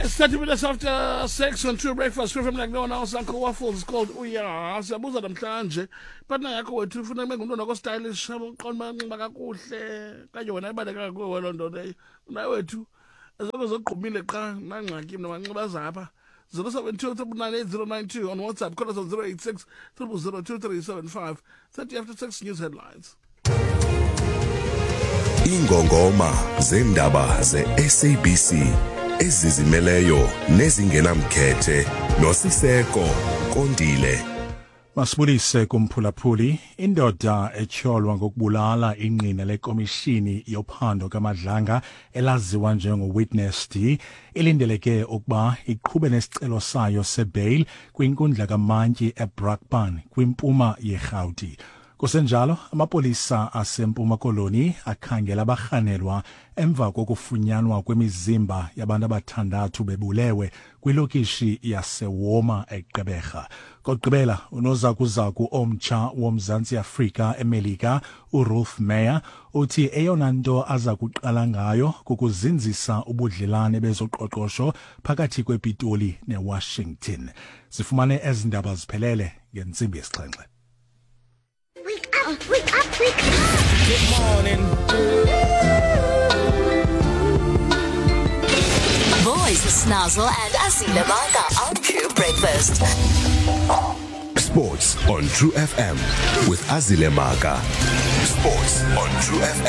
It's 30 minutes after 6 on True Breakfast. True FM like no one else. Uncle Waffles is called Uya. Siyabuza namhlanje. Partner yakho wethu ufuna kube ngumntwana wakho stylish, uqonda uba nxiba kakuhle. Kanye wena ibaleka kuwe loo nto leyo. Nawe wethu ezoko zogqumile qha nangxaki mna manxiba zapha. 072 998 on WhatsApp. Call us on 086 000 2375. 30 after 6 news headlines. Ingongoma zeendaba ze-SABC ezizimeleyo nezingenamkhethe noSiseko Kondile. Masibulise kumphulaphuli. Indoda etyholwa ngokubulala ingqina lekomishini yophando kaMadlanga elaziwa njengo-Witness D ilindeleke ukuba iqhube nesicelo sayo sebail kwinkundla kamantyi eBrakpan kwimpuma yeRhawuti. Kusenjalo, amapolisa aseMpuma Koloni akhangela abarhanelwa emva kokufunyanwa kwemizimba yabantu abathandathu bebulewe kwilokishi yaseWoma eGqeberha. Kokugqibela, unozakuzaku omtsha woMzantsi Afrika eMelika uRolf Meyer uthi eyona nto aza kuqala ngayo kukuzinzisa ubudlelane bezoqoqosho phakathi kwePitoli neWashington. Zifumane ezi ndaba ziphelele ngentsimbi yesixhenxe. Wake up, wake up, wake up. Good morning. Boys, Snazzle and Azile Maka on True Breakfast. Sports on True FM with Azile Maka. Sports on True FM.